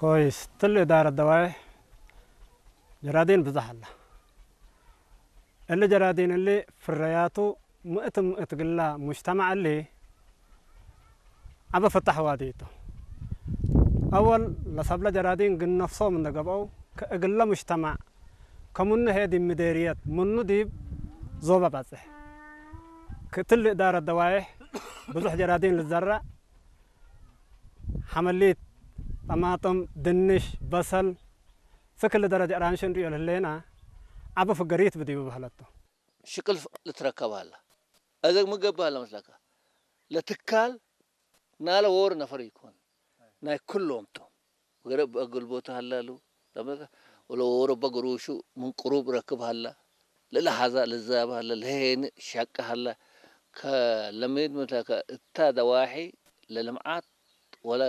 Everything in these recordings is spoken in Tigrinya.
ኮይስ ትልእ ዳረ ደዋይ ጀራዲን ብዛሕ ኣላ። እሊ ጀራዲን እሊ ፍረያቱ ምእት ምእት ግላ ሙጅተማዕ እሊ ዓበ ፍታሕ ዋዲቱ። ኣወል ለሰብለ ጀራዲን ግን ነፍሶም እንደገብአው ከእግለ ሙጅተማዕ ከሙነ ሄዲ ምዴርየት ምኑ ዲብ ዞበ ባጽሕ። ክትልእ ዳረ ደዋይሕ ብዙሕ ጀራዲን ልዘራእ ሓመሊት፣ ጠማጥም፣ ድንሽ፣ በሰል፣ ስክል ደረጃ ራንሽ እንሪኦ ለህሌና ዓብ ፍገሪት ብዲቡ በህለቶ። ሽቅል ልትረከብ ኣላ። እዘግ ምገብህ ኣላ መስለካ። ለትካል ናለ ወር ነፈር ይኮን። ናይ ኩሎም ቶም። ገረ በግልቦት ሃላሉ። ለመካ ወለ ወረ በግሩሹ ምን ቅሩብ ረክብ ሃላ። ለለሃዛ ለዛብ ሃላ። ለሄን ሻቅ ሃላ። ከለሜድ መታካ እታ ደዋሒ ለልምዓት ወለ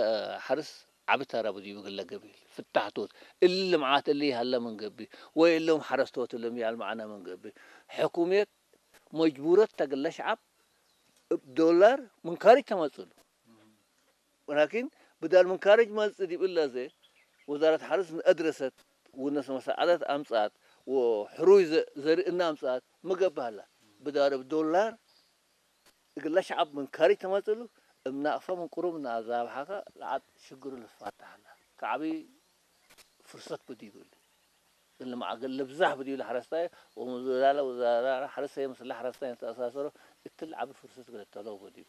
ሓርስ ዓቢ ተራ ብዲቡ ግለ ገቢል። ፍታሕቶት። እሊ ልምዓት እሊ ሃላ ምን ገቢ። ወይ እሎም ሓረስቶት እሎም ያል መዓና ምን ገቢ። ሕኩሜት መጅቡረት ተግለ ሸዓብ እብ ዶላር ምን ካሪጅ ተመጽሉ። ወላኪን ብዳል ምን ካሪጅ መጽእ ዲብ እለ ዘ ወዛረት ሓርስ ንአድረሰት ወነስ መሳዓደት አምጻት ወሕሩይ ዘ-፣ ዘርኢ እና አምጻት ምገብሃላ። ብዳር እብ ዶላር እግለ ሸዓብ ምን ካሪጅ ተመጽሉ እብ ናቅፈ ምን ቅሩብ እና አዛብሓካ ለዓድ ሽግሩ ልፋታሓላ። ከዓቢ ፍርሰት ብዲቡ እሊ። እሊ መዓገል ልብዛሕ ብዲቡ ለሓረስታይ ወምዝላለ ወዛራ ሓረስታይ ምስለ ሓረስታይ ንተአሳሰሮ እትል ዓቢ ፍርሰት ገለተለው ብዲቡ።